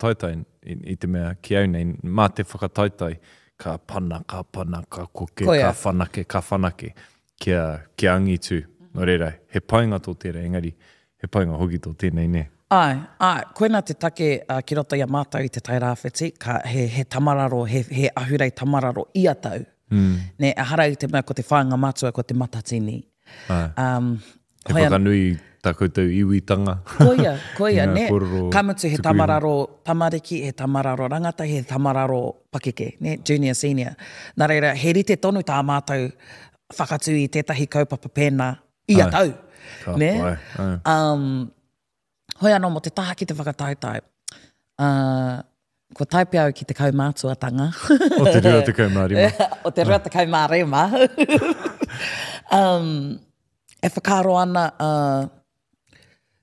Taetae i te mea ki au nei, mā te whakataetae ka pana, ka pana, ka koke, ka whanake, ka whanake, kia, kia angitu. Nō reira, he painga tō tērā, engari he painga hoki tō tēnei, nē? Āe, āe, koinā te take ki roto i a mātou i Te Tai Rāwhiti, ka, he, he tamararo, he, he ahurei tamararo ia tau. Nē, ehara i te mea ko te whāinga matua ko te Matatini. Āe. Um, He whakanui tā koutou iwitanga. Koia, koia, nē. Ka mutu he tamararo tamariki, he tamararo rangatahi, he tamararo pakeke, nē, junior, senior. Nā reira, he rite tonu tā mātou whakatū i tētahi kaupapa pēnā ia tau. Ka nē? pai, ai. Um, hoi anō mō te taha ki te whakataetae, uh, kua tae pea au ki te kaumātuatanga. O te 25. o te 25. um, e whakaaro ana uh,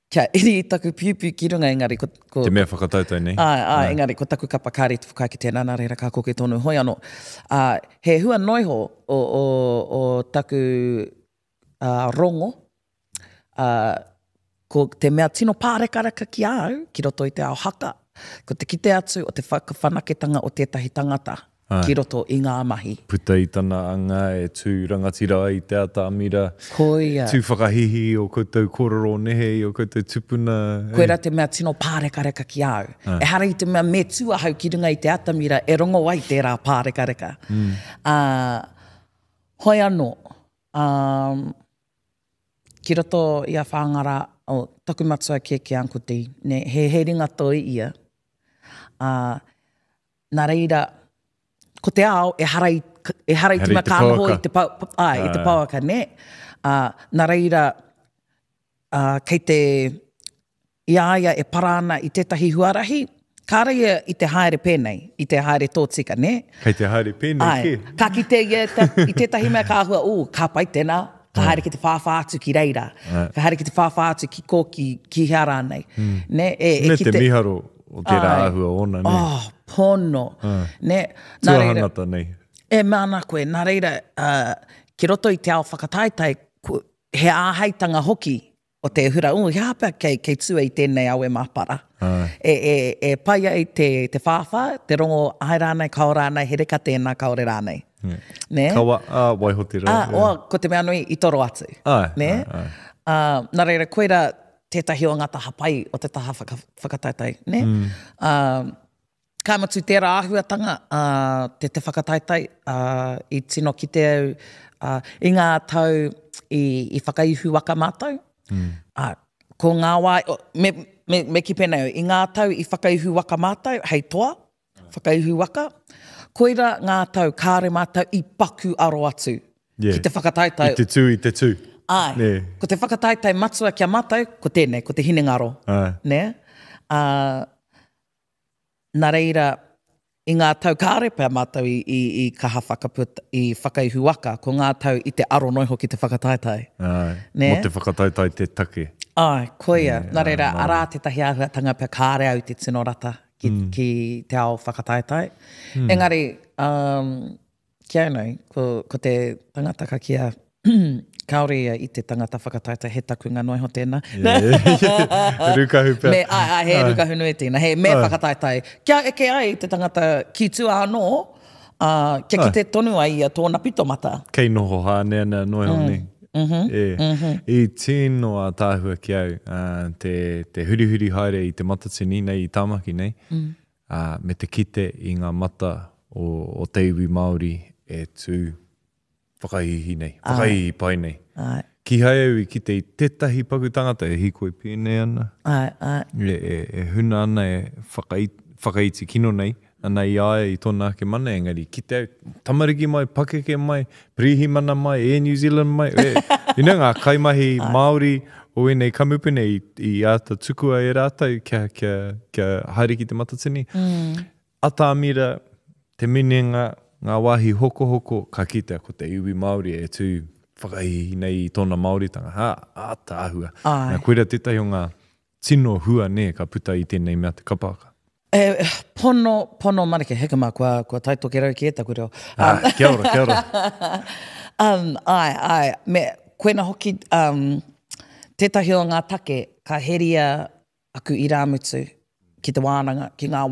kia iri i taku piupiu ki runga, engari ko... ko te mea whakataetae nei. Āe, āe, engari ko taku kapa kāre i te whakaae ki tēnā, nā reira ka koke tonu. Hoi anō, uh, he hua noiho o, o, o taku uh, rongo, uh, ko te mea tino pārekareka ki a au, ki roto i te ao haka, ko te kite atu o te whakawhanaketanga o tētahi tangata Ai. ki roto i ngā mahi. Puta i tana anga e tū rangatira ai te atamira. Koia. Tū whakahihi i ō koutou kōrero o nehe, i ō koutou tupuna. Koira te mea tino pārekareka ki a au. Ai. Ehara i te mea me tū ahau ki runga i te atamira e rongo ai tērā pārekareka. Mm. Uh, hoi anō, Um, ki roto i a Whāngara, oh, taku matua kēkē Uncle D, ne, he, he ringa toi ia. Uh, nā reira, ko te ao, ehara i, ehara i te mea ka noho i te, pa, ai, i te pouaka, ne? Uh, nā reira, uh, kei te, i a ia e para ana i tētahi huarahi, kāre ia i te haere pēnei, i te haere tōtika, nē? Kei te haere pēnei kē. Āe. Ka kite ia i tētahi mea ka āhua, ū, ka pai tēnā, ka haere ki te whāwhā atu ki reira, ka haere ki te whāwhā atu ki kō, ki, ki hea rānei. Nē, e, e kite... Me te miharo o tērā āhua ōna, nē? Oh, pono. Nē? Nā reira... Tuahangata nei. E mea ana koe, nā reira, ki roto i te ao whakataetae, he āheitanga hoki o te hura, oh, he aha pea kei, kei tua i tēnei awe māpara. E, e, e pai ai te, te whāwhā, te rongo, āe rānei, kāo rānei, he reka tēnā, kāore rānei. Yeah. Nē? Kawa, ā, waiho te rā. Ā, yeah. oh, ko te mea nui, i toro atu. Āe, Nē? āe, āe. Ā, nā reira, koira tētahi o ngā taha pai o te taha whaka, whakataetae, nē? Mm. Ā, Ka mutu tērā āhuatanga, ā, te, te whakataetae, ā, i tino kite au, ā, i ngā tau i, i whakaihu waka mātou, mm. ā, ko ngā wā, me, me, me kī pēnei au, i ngā tau i whakaihu waka mātou, hei toa, whakaihu waka, koira ngā tau kāre mātou i paku aro atu yeah. ki te whakataetae. I te tū, i te tū. Āe, yeah. ko te whakataetae matua ki a mātou, ko tēnei, ko te hinengaro. Āe. Nē? Ā, Nā reira, i ngā tau kāore pea mātou i, i, i kaha whakaputa, i whakaihu waka, ko ngā tau i te aro noa iho ki te whakataetae. Āe, Nē? mō te whakataetae te take. Āe, koia. Nē, Nā reira, āe, arā tētahi āhuatanga pea kāore au i te tino rata ki, mm. ki te ao whakataetae. Mm. Engari, um, Ki au nei, ko, ko te tangata ka kīa, kāore ia i te tangata whakataetae, he takunga noa iho tēnā. He rukahu pea. Me, ai, ai, he rukahu nui tēnā, he me whakataetae. Kia eke ai te tangata ki tua anō, ā, kia kite tonu ai ia tōna pitomata. Kei noho hāneanea noa iho nei. E, i tino ātaahua ki au, ā, te, te hurihuri haere i Te Matatini nei, i Tāmaki nei, ā, me te kite i ngā mata o, o te iwi Māori e tū whakahīhī nei, whakahīhī pai nei. Āe. Kīhai au i kite i tētahi paku tangata e hīkoi pēnei ana, Āe, āe. e, e, e huna ana, e whakai, whakaiti kino nei ana i a ia i tōna ake mana, engari kite au, tamariki mai, pakeke mai, pirihimana mai, Air New Zealand mai, e, you know, ngā kaimahi Māori o ēnei kamupene i, i āta tukua e rātou kia, kia, kia haere ki Te Matatini. Mm. Atamira, te minenga, ngā wāhi hokohoko, ka kitea ko te iwi Māori e tū whakahīhī nei i tōna Māoritanga. Ha, ātaahua. Āe. Nā, koira tētahi o ngā tino hua nē ka puta i tēnei mea te kapa haka. E, pono, pono marike, heka mā, kua, kua tae tokerau kē taku reo. Ah, kia ora, kia ora. um, ai, ai, me, koina hoki, um, tētahi o ngā take ka heria aku irāmutu. ki te wānanga, ki ngā.